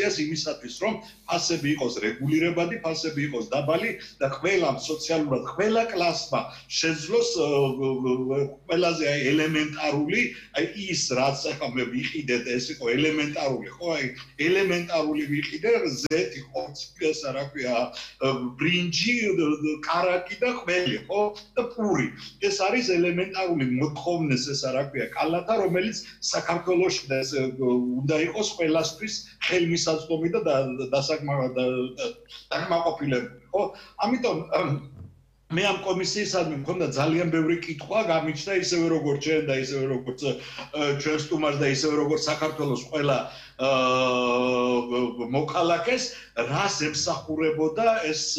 დემოკრატიას იმისათვის, რომ ფასები იყოს რეგულირებადი, ფასები იყოს დაბალი და ყველა სოციალურად ყველა კლასმა შეძლოს ყველაზე ელემენტარული ის რაც ახლა მე ვიყიდეთ ეს იყო ელემენტარული ხო აი ელემენტარული ვიყიდე ზეთი ხორცი ესა რა ქვია ბრინჯი კარაკი და ყველი ხო და პური ეს არის ელემენტარული მოთხოვნეს ესა რა ქვია კალათა რომელიც საქართველოში და ეს უნდა იყოს ყველასთვის ხელმისაწვდომი და დაკმაყოფილებული ხო ამიტომ მე ამ კომისიისადმი მქონდა ძალიან ბევრი კითხვა გამიჩნდა ისევე როგორც ჩვენ და ისევე როგორც ჩვენ სტუმარს და ისევე როგორც საქართველოს ყველა მოქალაქეს რას ემსახურებოდა ეს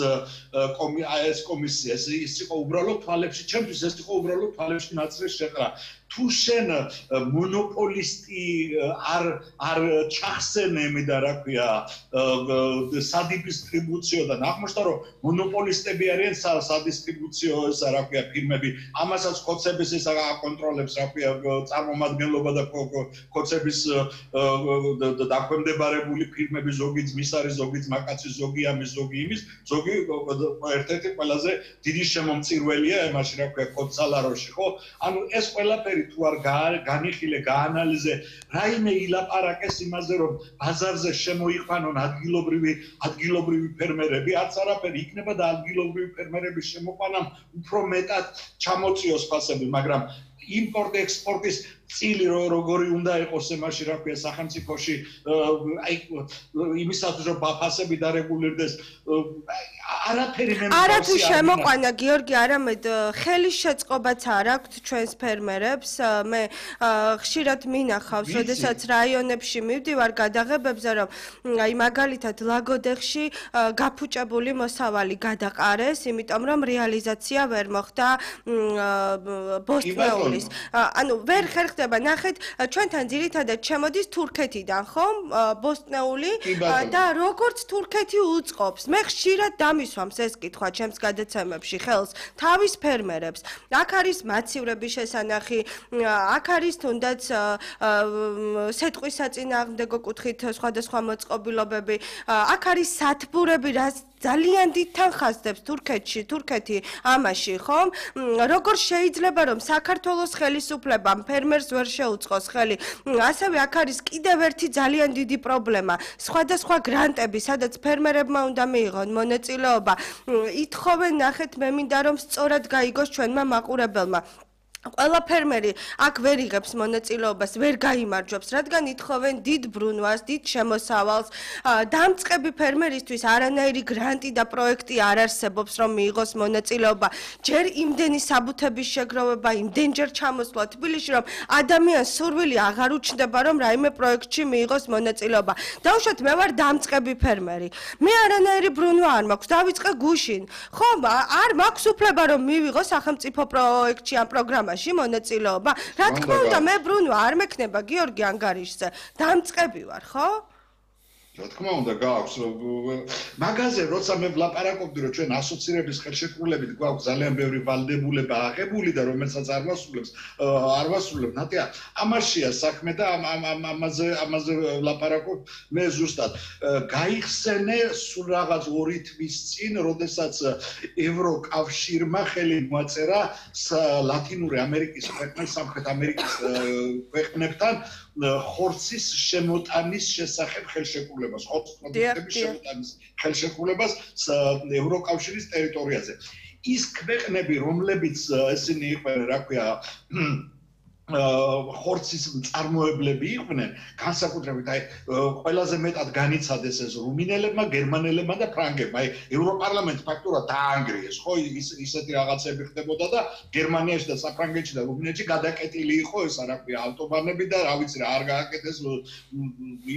კომისია ეს იყო უბრალოდ თვალებში ჩემთვის ეს იყო უბრალოდ თვალებში ნაცრის შეყრა თუ შენ მონოპოლისტი არ ჩახსენემი და რა ქვია სადისტრიბუციო და ნახმოშთა რომ მონოპოლისტები არიან სადისტრიბუციო ესა რა ქვია ფირმები ამასაც ხოცების ეს აკონტროლებს რა ქვია წარმომადგენლობა და ხოცების დაქვემდებარებული ფირმები ზოგი ძმის არის ზოგი ძმაკაცის ზოგი ამის ზოგი იმის ზოგი ერთ-ერთი ყველაზე დიდი შემომწირველია იმაში რა ქვია ხოცალაროში ხო ანუ ეს ყველაფერი თუ არ განიხილე გაანალიზე რაიმე ილაპარაკეს იმაზე რომ ბაზარზე შემოიყვანონ ადგილობრივი ფერმერები არც არაფერი იქნება და ადგილობრივი ფერმერების შემოყვანამ უფრო მეტად ჩამოწიოს ფასები მაგრამ იმპორტ ექსპორტის წილი როგორი უნდა იყოს იმაში რა ქვია სახელმწიფოში აი იმისათვის რომ ფასები დარეგულირდეს არაფერი მე არა თუ შემოყვანა გიორგი არამედ ხელის შეწყობაც არ აქვთ ჩვენს ფერმერებს მე ხშირად მინახავს შესაძაც რაიონებში მივდივარ გადაღებებზე რომ აი მაგალითად ლაგოდეხში გაფუჭებული მოსავალი გადაყარეს იმიტომ რომ რეალიზაცია ვერ მოხდა ბოსტნეულის ანუ ვერ ხერხდება ნახეთ ჩვენთან ძირითადად შემოდის თურქეთიდან ხომ ბოსტნეული და როგორც თურქეთი უწყობს მე ხშირად დამისვამს ეს კითხვა ჩემს გადაცემებში ხელს თავის ფერმერებს აქ არის მაცივრების შესანახი აქ არის თუნდაც სეტყვის საწინააღმდეგო კუთხით სხვადასხვა მოწყობილობები აქ არის სათბურები რაც ძალიან დიდ თანხასდებს თურქეთი ამაში ხომ როგორ შეიძლება რომ საქართველოს ხელისუფლებამ ფერმერს ვერ შეუწყოს ხელი ასევე აქ არის კიდევ ერთი ძალიან დიდი პრობლემა სხვადასხვა გრანტები სადაც ფერმერებმა უნდა მიიღონ მონაწილეობა ითხოვენ ნახეთ მე მინდა რომ სწორად გაიგოს ჩვენმა მაყურებელმა ყველა ფერმერი აქ ვერ იღებს მონაწილეობას, ვერ გაიმარჯვებს, რადგან ითხოვენ დიდ ბრუნვას, დიდ შემოსავალს. დამწყები ფერმერისთვის არანაირი გრანტი და პროექტი არ არსებობს, რომ მიიღოს მონაწილეობა. ჯერ იმდენი საბუთების შეგროვება, იმდენჯერ ჩამოსვლა თბილისში, რომ ადამიანს სურვილი აღარ უჩნდება, რომ რაიმე პროექტში მიიღოს მონაწილეობა. დავუშვათ, მე ვარ დამწყები ფერმერი. მე არანაირი ბრუნვა არ მაქვს, დავიწყე გუშინ. ხო, არ მაქვს უფლება, რომ მივიღო სახელმწიფო პროექტში ან პროგრამაში. მონაწილეობა. რა თქმა უნდა, მე ბრუნვა არ მექნება გიორგი ანგარიშზე. დამწყები ვარ, ხო? რა თქმა უნდა, გააქვს. მაგაზე როცა მე ვლაპარაკობდი, რომ ჩვენ ასოცირების ხელშეკრულებით გვაქვს ძალიან ბევრი ვალდებულება აღებული და რომელსაც არ ვასრულებ, ნატია, ამაშია საქმე და ამაზე ვლაპარაკობ მე ზუსტად. გაიხსენე სულ რაღაც 2 თვის წინ, როდესაც ევროკავშირმა ხელი მოაწერა ლათინური ამერიკის ქვეყნებს, სამხრეთ ამერიკის ქვეყნებთან ხორცის შემოტანის შესახებ ხელშეკრულებას, ხორცის პროდუქტების შემოტანის ხელშეკრულებას ევროკავშირის ტერიტორიაზე. ის ქვეყნები, რომლებიც ესენი იყვნენ, რა ქვია, ხორცის მწარმოებლები იყვნენ, განსაკუთრებით აი ყველაზე მეტად განიცადეს ეს რუმინელებმა, გერმანელებმა და ფრანგებმა. აი ევროპარლამენტს ფაქტურად დაანგრიეს, ხო, ისეთი რაღაცები ხდებოდა და გერმანიაში და საფრანგეთში და რუმინეთში გადაკეტილი იყო ესა რა ქვია, ავტობანები და რა ვიცი რა არ გააკეთეს,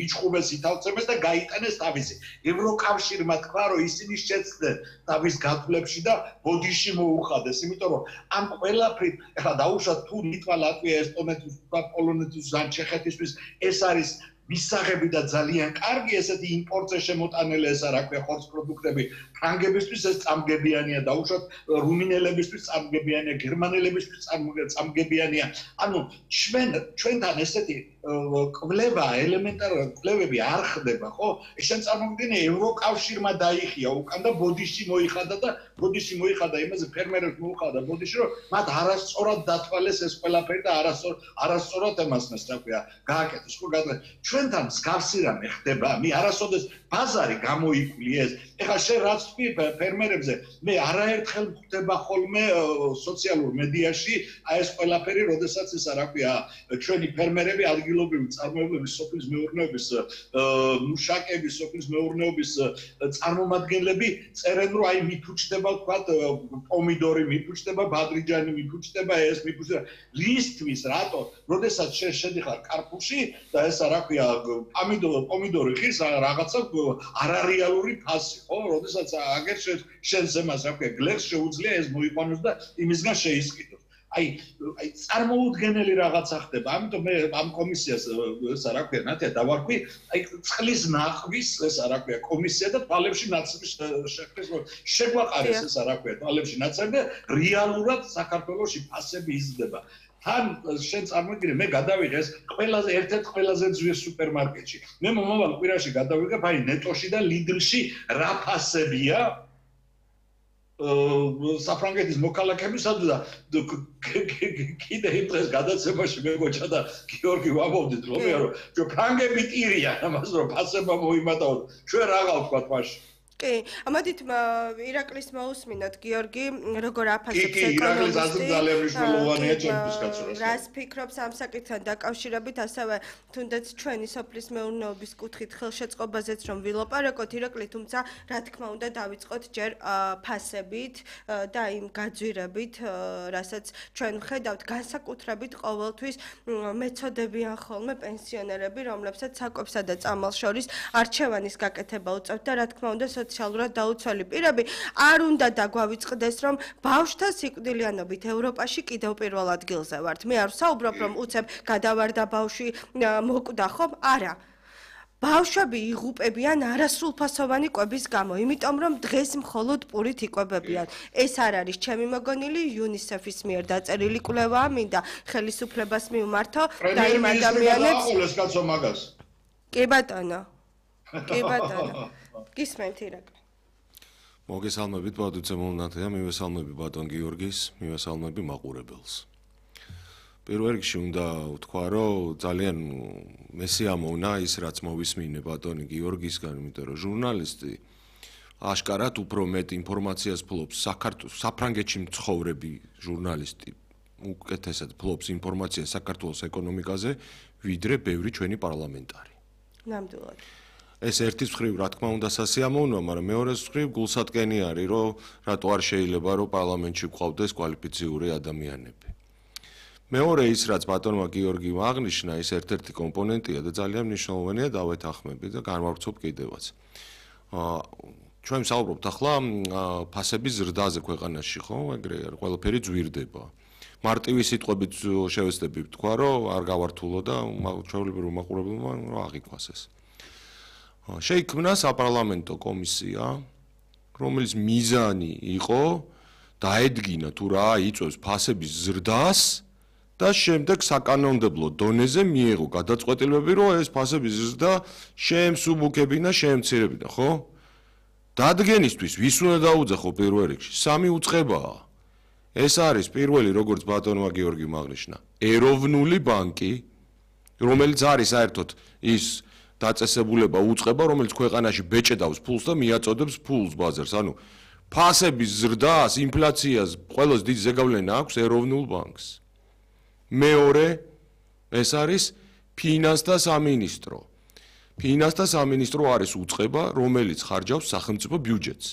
იჭხუბეს, ითავწებეს და გაიტანეს თავისი. ევროკავშირმა თქვა, რომ ისინი შეცდნენ თავის გათვლებში და ბოდიში მოუხადეს, იმიტომ რომ ამ ყველაფრით ეხლა დაუშვათ თუ ლიტვა, ლატვია ესტონეთის, პოლონეთის, ჩეხეთისთვის ეს არის მისაღები და ძალიან კარგი ესეთი იმპორტზე შემოტანილი ესა რა ქვია ხორცის პროდუქტები ფრანგებისთვის ეს წამგებიანია დაუშვათ რუმინელებისთვის წამგებიანია გერმანელებისთვის წამგებიანია ანუ ჩვენთან ესეთი კვლევა, ელემენტარული კვლევები არ ხდება, ხო? ესენ წარმოგიდგენთ ევროკავშირმა დაიხია უკან და ბოდიში მოიხადა იმაზე ფერმერებს მოუხადა ბოდიში, რომ მათ არასწორად დათვალეს ეს ყველაფერი და არასწორად ემასნეს, რა ქვია, გააკეთეს, ხო? ჩვენთან მსგავსი რამე ხდება, არასოდეს ბაზარი გამოიკვლიეს. ეხლა შენ რაც თქვი ფერმერებზე, მე არაერთხელ ხდება ხოლმე სოციალურ მედიაში აი ეს ყველაფერი, როდესაც ისა რა ქვია, ჩვენი ფერმერები ადგილობრივი წარმოებების სოფლის მეურნეობის მუშაკები, სოფლის მეურნეობის წარმომადგენლები წერენ, რომ აი მიფუჭდება ვთქვათ პომიდორი, მიფუჭდება ბადრიჯანი, მიფუჭდება ეს, მიფუჭდება ლისტვის, რატო? როდესაც შენ შედიხარ კარპუში და ესა რა ქვია, პომიდორი ხის რაღაცა არარეალური ფასი, ხო? როდესაც აგერ შენ ზემას რა ქვია, გლეხს შეუძლია ეს მოიყვანოს და იმისგან შეისყიდოს. აი წარმოუდგენელი რაღაცა ხდება. ამიტომ მე ამ კომისიას ესა რა ქვია, ნათია დავარქვი, აი წყლის ნახვის ესა რა ქვია, კომისია და თვალებში ნაცრების შექმნის შეგვაყარეს ესა რა ქვია, თვალებში ნაცრები და რეალურად საქართველოში ფასები იზრდება. თან შენ წარმოგიდგენ, მე გადავიღე ეს ერთ-ერთ ყველაზე ძვირ სუპერმარკეტში. მე მომავალ კვირაში გადავიღებ აი ნეტოში და ლიდლში რა ფასებია საფრანგეთის მოქალაქეებისათვის და კიდე იმ დღეს გადაცემაში მეგოჩა და გიორგი ვამბობდით რომ ფრანგები ტირიან ამას რომ ფასება მოიმატაოთ. ჩვენ რაღა ვთქვათ მაშინ? კი, ამოდით ირაკლის მოусმინოთ გიორგი, როგორ აფასებს ეკონომისტი. ძალიან მნიშვნელოვანია ჩემთვის კაცურას. რას ფიქრობს ამ საკითხთან დაკავშირებით, ასევე თუნდაც ჩვენი სოფლის მეურნეობის კუთხით ხელშეწყობაზეც რომ ვილაპარაკოთ ირაკლი, თუმცა რა თქმა უნდა დავიწყოთ ჯერ ფასებით და იმ გაძვირებით, რასაც ჩვენ ვხედავთ განსაკუთრებით ყოველთვის მეცოდებიან ხოლმე პენსიონერები, რომლებსაც საკვებსა და წამალს შორის არჩევანის გაკეთება უწევთ და რა თქმა უნდა სოციალურად დაუცველი პირები არ უნდა დაგვავიწყდეს, რომ ბავშვთა სიკვდილიანობით ევროპაში კიდევ პირველ ადგილზე ვართ. მე არ ვსაუბრობ, რომ უცებ გადავარდა ბავშვი მოკვდა, ხომ? არა. ბავშვები იღუპებიან არასრულფასოვანი კვების გამო, იმიტომ რომ დღეს მხოლოდ პურით იკვებებიან. ეს არ არის ჩემი მოგონილი, UNICEF-ის მიერ დაწერილი კვლევაა, მინდა ხელისუფლებას მივმართო და იმ ადამიანებს კი ბატონო. კი ბატონო. გისმენთ ირაკლი. მოგესალმებით ბატონო ნათია, მივესალმები ბატონ გიორგის, მივესალმები მაყურებელს. პირველ რიგში უნდა ვთქვა, რომ ძალიან მესიამოვნა ის, რაც მოვისმინე ბატონი გიორგისგან, იმიტომ რომ ჟურნალისტი აშკარად უფრო მეტ ინფორმაციას ფლობს საფრანგეთში მცხოვრები ჟურნალისტი უკეთესად ფლობს ინფორმაციას საქართველოს ეკონომიკაზე, ვიდრე ბევრი ჩვენი პარლამენტარი. ნამდვილად. ეს ერთის მხრივ რა თქმა უნდა სასიამოვნოა, მაგრამ მეორეს მხრივ გულსატკენი არის, რომ რატო არ შეიძლება რომ პარლამენტში გვყავდეს კვალიფიციური ადამიანები. მეორე ის რაც ბატონმა გიორგიმ აღნიშნა, ის ერთ-ერთი კომპონენტია და ძალიან მნიშვნელოვანია დავეთანხმები და განვავრცობ კიდევაც. ჩვენ ვსაუბრობთ ახლა ფასების ზრდაზე ქვეყანაში, ხო? ეგრე ყველაფერი ძვირდება. მარტივი სიტყვებით შევეცდები ვთქვა, რომ არ გავართულო და ჩვეულებრივ მაყურებელმა რა აღიქვას ეს. შეიქმნა საპარლამენტო კომისია, რომელიც მიზანი იყო დაედგინა თუ რა იწვევს ფასების ზრდას და შემდეგ საკანონმდებლო დონეზე მიეღო გადაწყვეტილებები, რომ ეს ფასების ზრდა შეემსუბუქებინა, შეემცირებინა, ხო? დადგენისთვის ვის უნდა დაუძახო პირველ რიგში? სამი უწყებაა. ეს არის პირველი, როგორც ბატონმა გიორგიმ აღნიშნა, ეროვნული ბანკი, რომელიც არის საერთოდ ის დაწესებულება უწყება, რომელიც ქვეყანაში ბეჭედავს ფულს და მიაწოდებს ფულს ბაზარს. ანუ ფასების ზრდას, ინფლაციას ყველას დიდი ზეგავლენა აქვს ეროვნულ ბანკს. მეორე ეს არის ფინანსთა სამინისტრო. ფინანსთა სამინისტრო არის უწყება, რომელიც ხარჯავს სახელმწიფო ბიუჯეტს.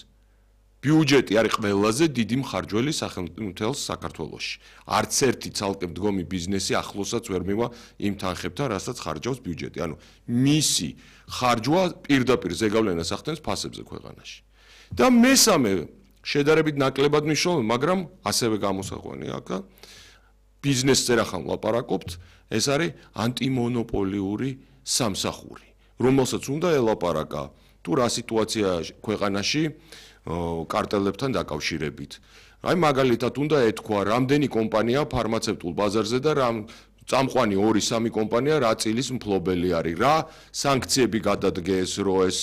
ბიუჯეტი არის ყველაზე დიდი მხარჯველი სახელმწიფოს საქართველოში. არც ერთი ცალკე მდგომი ბიზნესი ახლოსაც ვერ მივა იმ თანხებთან, რასაც ხარჯავს ბიუჯეტი. ანუ მისი ხარჯვა პირდაპირ ზეგავლენას ახდენს ფასებზე ქვეყანაში. და მესამე შედარებით ნაკლებად მნიშვნელოვანი, მაგრამ ასევე გამოსაყვანია აქ ბიზნესზე რახან ვლაპარაკობთ, ეს არის ანტიმონოპოლიური სამსახური, რომელსაც უნდა ელაპარაკა თუ რა სიტუაცია ქვეყანაში კარტელებთან დაკავშირებით. აი მაგალითად უნდა ეთქვა, რამდენი კომპანია ფარმაცევტულ ბაზარზე და რამ წამყვანი 2-3 კომპანია რა წილის მფლობელი არის, რა სანქციები გადადგეს, რომ ეს